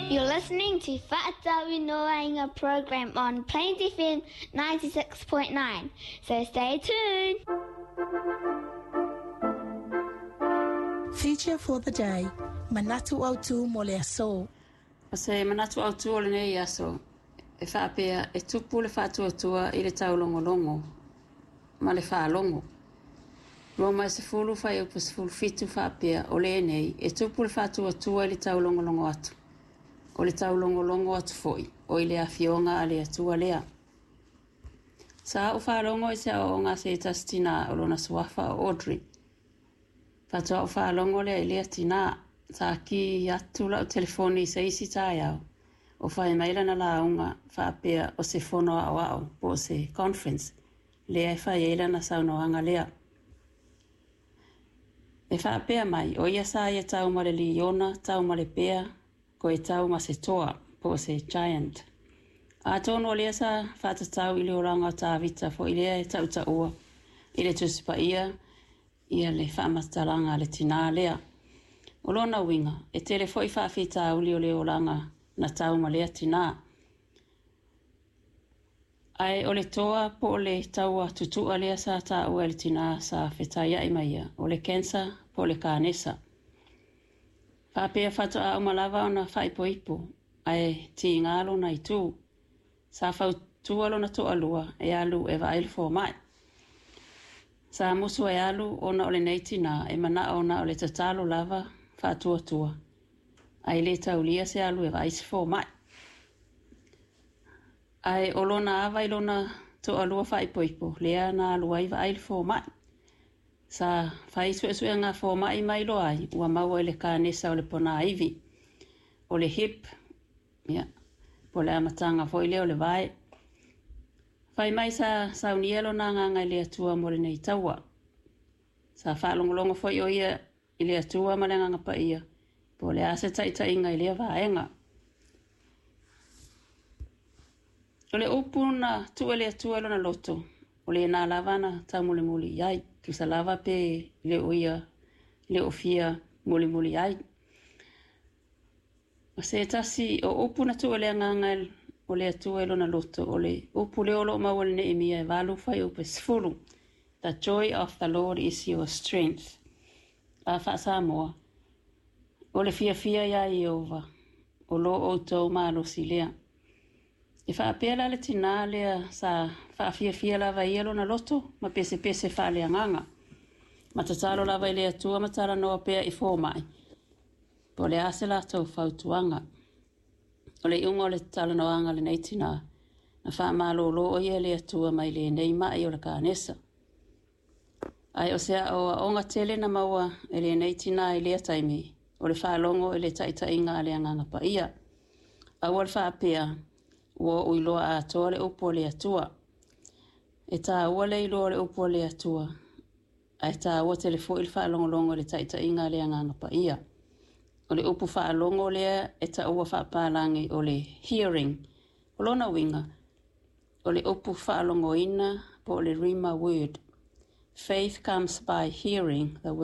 You're listening to Fa'atauinoaina program on Plains FM 96.9. So stay tuned. Feature for the day, Manatu Autu mo le aso. O se manatu autu o lenei aso, e faapea e tupu le faatuatua i le taulogologo ma le faalogo. Roma e 10 fuaiupu 17 faapea, O lenei, e tupu le faatuatua i le taulogologo atu, o le taulogologo atu foi, o i le afioga a le Atua lea. Sa ou faalogo i se aoaoga a se tasi tinā o lona suafa o Audrey. Faatoa ou faalogo lea i lea tinā, sa kī atu la'u telefoni i se isi taeao, o fai mai lana lauga faapea o se fono aoao po o se conference lea e fai ai lana saunoaga lea. E faapea mai, o ia sa ia tau ma le liona, tau ma le bea, koe tau ma se toa, po o se giant. Atonu o lea sa faatatau i le olaga o Tavita foi lea e tautaua i le Tusi Paia ia le faamatalaga a le tinā lea. O lona uiga, e tele foi faafitauli o le olaga na tau ma lea tinā. Ae o le toa po o le taua tutu'a lea sa taua e le tinā sa fetaia'i ma ia, o le cancer po o le kanesa. Faapea faatoa uma lava ona faaipoipo, ae tiga lona itu. Sa fautua lona toalua e alu e vaai le fomai. Sa musu e alu ona o lenei tinā e mana'o na o le tatalo lava faatuatua, ae le taulia se alu e vaai se fomai. Ae o lona ava i lona toalua faaipoipo lea na alu ai vaai le fomai. Sa fai suesuega a fomai ma iloa ai ua maua i le kanesa o le ponaivi, o le hip, ia, po o le amataga foi lea o le vae. Fai mai sa saunia lona agaga i le Atua mo lenei taua. Sa faalogologo foi o ia i le Atua ma le Agaga Paia po o le a se taitaiga i lea vaega. O le upu na tuu e le Atua i lona loto, o lena lava na taumolimoli i ai, tusa lava pe le o ia le o fia molimoli ai. O se tasi o upu na tuu e le Agaga o le Atua i lona loto, o le upu lea o lo o maua i le Neemia e 8 fuaiupu e 10, The joy of the Lord is your strength. A faa-Samoa, o le fiafia iā Ieova, o lo outou malosi lea. E faapea la le tinā lea sa faafiafia lava e ia lona loto ma pesepese faaleagaga, ma tatalo lava i le Atua ma talanoa pea i fomai, po o le a se latou fautuaga. O le iuga o le talanoaga a lenei tinā, na faamalōlō o ia e le Atua mai lenei ma'i o le kanesa. Ae o se aoaoga tele na maua e lenei tinā i lea taimi, o le faalogo i le taitaiga a le Agaga Paia. Aua le faapea, ua ou iloa atoa le upu a le Atua. E tāua le iloa o le upu a le Atua, ae tāua tele foi le faalogologo i le taitaiga a le Agaga Paia. O le upu faalogo lea e taua faapalagi o le hearing. O lona uiga, o le upu faalogoina po o le rhema word. Faith comes by hearing the word.